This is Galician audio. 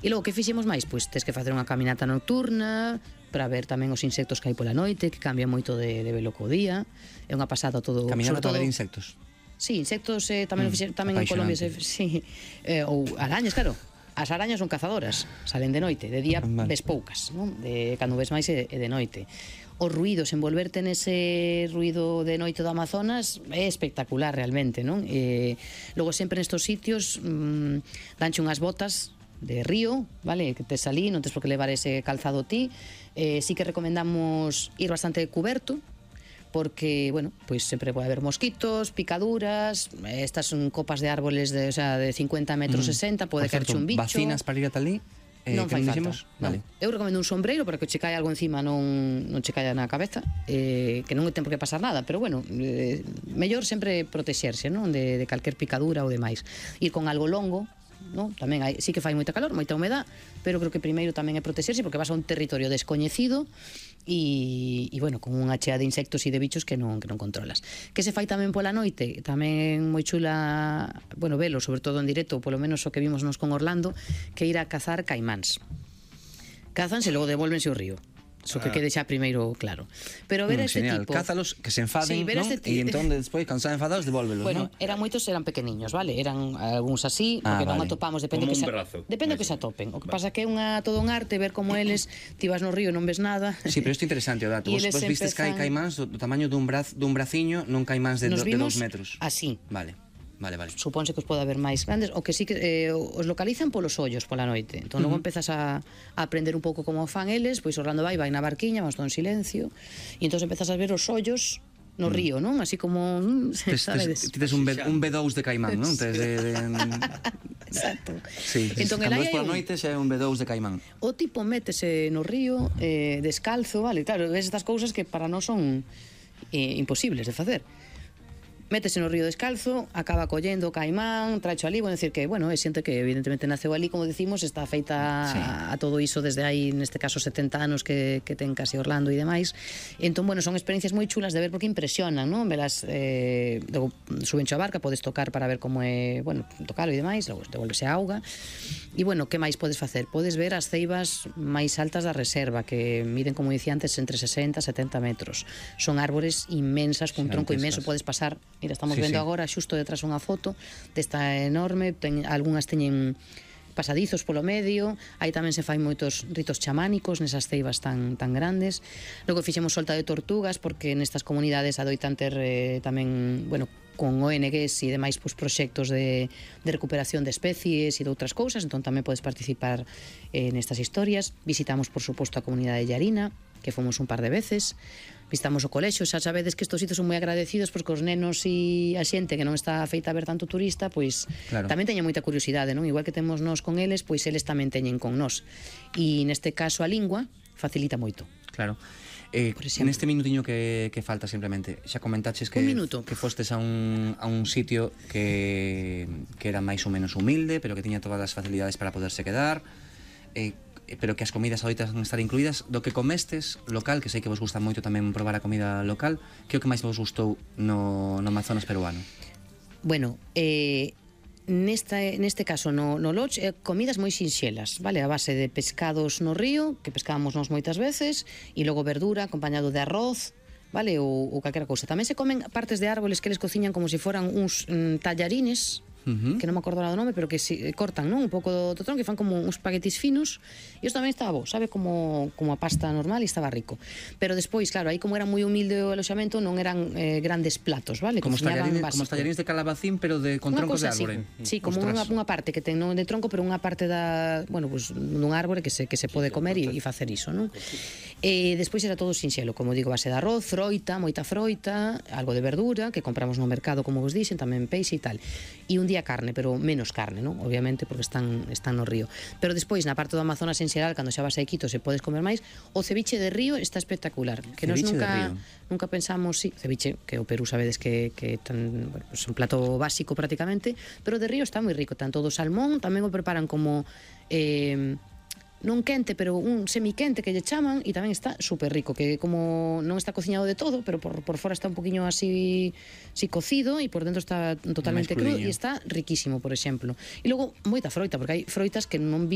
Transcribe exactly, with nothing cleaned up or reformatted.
E logo, que fixemos máis? Pois tes que facer unha caminata nocturna para ver tamén os insectos que hai pola noite, que cambia moito de, de velo co día. É unha pasada todo. Caminata para ver insectos. Sí, insectos eh, tamén, mm, fixer, tamén en Colombia se, sí, eh, ou arañas, claro. As arañas son cazadoras, salen de noite, de día vale. Ves poucas, non? De cando ves máis é, é de noite. Os ruidos, envolverte nese ruido de noite do Amazonas é espectacular realmente, non? E logo sempre nestos sitios mmm, danche unhas botas de río, vale, que te salí, non tes por que levar ese calzado ti. Eh, sí que recomendamos ir bastante cuberto, porque, bueno, pois sempre pode haber mosquitos, picaduras, estas son copas de árboles de, o sea, de cincuenta metros, mm. sesenta, pode caerche un bicho. Vacinas para ir ata ali? Eh, non fai falta, vale. non. Eu recomendo un sombreiro para que che caia algo encima, non, non che caia na cabeza, eh, que non ten por que pasar nada, pero bueno, eh, mellor sempre protexerse, non, de, de calquer picadura ou demais. Ir con algo longo, non? Tamén hai, sí que fai moita calor, moita humedad, pero creo que primeiro tamén é protexerse porque vas a un territorio descoñecido e, e bueno, con unha chea de insectos e de bichos que non, que non controlas. Que se fai tamén pola noite? Tamén moi chula, bueno, velo, sobre todo en directo, polo menos o que vimos nos con Orlando, que ir a cazar caimáns. Cázanse e logo devolvense ao río. Eso que quede xa primeiro claro. Pero ver mm, este genial. tipo... Cázalos, que se enfaden, sí, non? Este E entón, despois, cando están enfadados, devolvelos, bueno, non? Bueno, eran moitos, eran pequeniños, vale? Eran algúns así, ah, porque vale. non atopamos, depende como que un se, brazo. depende que se atopen. O que vale. Pasa que é unha, todo un arte ver como eles, ti vas no río e non ves nada. Sí, pero isto é interesante o dato. Vos, vos vistes que hai caimáns do, do tamaño dun, braz, dun braciño, non caimáns de, do, de dos metros. Así. Vale. Vale, vale. Supónse que os pode haber máis grandes, o que sí que eh, os localizan polos ollos pola noite. Entón uh -huh. logo empezas a, a aprender un pouco como fan eles, pois Orlando vai, vai na barquiña, vamos todo en silencio, e entón empezas a ver os ollos no mm. río, non? Así como, mm, sabedes. Ti tes un, un B dous de caimán, non? Tes de, de... Exacto. Sí, entón, cando ves pola noite xa é un B dous de caimán. O tipo métese no río eh, descalzo, vale, claro, ves estas cousas que para nós son eh, imposibles de facer. Métese no río descalzo, acaba collendo o caimán, tracho ali, bueno, decir que, bueno, é xente que evidentemente naceu ali, como decimos, está feita sí. a, a todo iso desde aí, neste caso, setenta anos que, que ten casi Orlando e demais. Entón, bueno, son experiencias moi chulas de ver porque impresionan, non? Velas, eh, logo subencho a barca, podes tocar para ver como é, bueno, tocalo e demais, logo devolvese a auga. E, bueno, que máis podes facer? Podes ver as ceibas máis altas da reserva, que miden, como dicía antes, entre sesenta e setenta metros. Son árbores inmensas, cun tronco inmenso, podes pasar. Mira, estamos sí, vendo sí. agora xusto detrás unha foto desta enorme, ten, algunhas teñen pasadizos polo medio, aí tamén se fai moitos ritos chamánicos nesas ceibas tan, tan grandes. Logo fixemos solta de tortugas porque nestas comunidades adoitan ter eh, tamén, bueno, con O N Gs e demais pues, proxectos de, de recuperación de especies e de outras cousas, entón tamén podes participar eh, nestas historias. Visitamos, por suposto, a comunidade de Llarina, que fomos un par de veces. Visitamos o colexio, xa sabedes que estos sitios son moi agradecidos porque os nenos e a xente que non está feita a ver tanto turista, pois claro. tamén teñen moita curiosidade, non? Igual que temos nós con eles, pois eles tamén teñen con nós. E neste caso a lingua facilita moito. Claro. Eh, neste minutiño que, que falta simplemente, xa comentaches que, que fostes a un, a un sitio que, que era máis ou menos humilde, pero que tiña todas as facilidades para poderse quedar, eh, pero que as comidas adoitas estar incluídas. Do que comestes local, que sei que vos gusta moito tamén probar a comida local, que é o que máis vos gustou no, no Amazonas peruano? Bueno, eh, nesta, neste caso no, no Lodge, eh, comidas moi sinxelas, vale, a base de pescados no río, que pescábamos nós moitas veces, e logo verdura acompañado de arroz, vale, ou, ou calquera cousa. Tamén se comen partes de árboles que eles cociñan como se foran uns mm, tallarines, Uh -huh. que non me acordo do nome, pero que si, cortan, non? Un pouco do, do tronco, que fan como uns espaguetis finos, e isto tamén estaba bo, sabe, como, como a pasta normal, e estaba rico. Pero despois, claro, aí como era moi humilde o aloxamento, non eran eh, grandes platos, vale? Como os tallarines, como tallarines de calabacín, pero de, con unha troncos de árbore. Sí, sí, como unha, unha parte que ten non de tronco, pero unha parte da, bueno, pues, dun árbore que se, que se pode comer e, e facer iso, non? E despois era todo sinxelo, como digo, base de arroz, froita, moita froita, algo de verdura, que compramos no mercado, como vos dixen, tamén peixe e tal. E un día carne, pero menos carne, non? Obviamente, porque están, están no río. Pero despois, na parte do Amazonas en xeral, cando xa vas a Iquitos e podes comer máis, o ceviche de río está espectacular. Que nós nunca, nunca pensamos, sí, ceviche, que o Perú sabedes que, que tan, bueno, pues un plato básico prácticamente, pero de río está moi rico. Tanto do salmón, tamén o preparan como... Eh, non quente, pero un semiquente que lle chaman, e tamén está super rico, que como non está cociñado de todo, pero por, por fora está un poquinho así, así cocido, e por dentro está totalmente crudo, e está riquísimo, por exemplo. E logo, moita froita, porque hai froitas que non vi,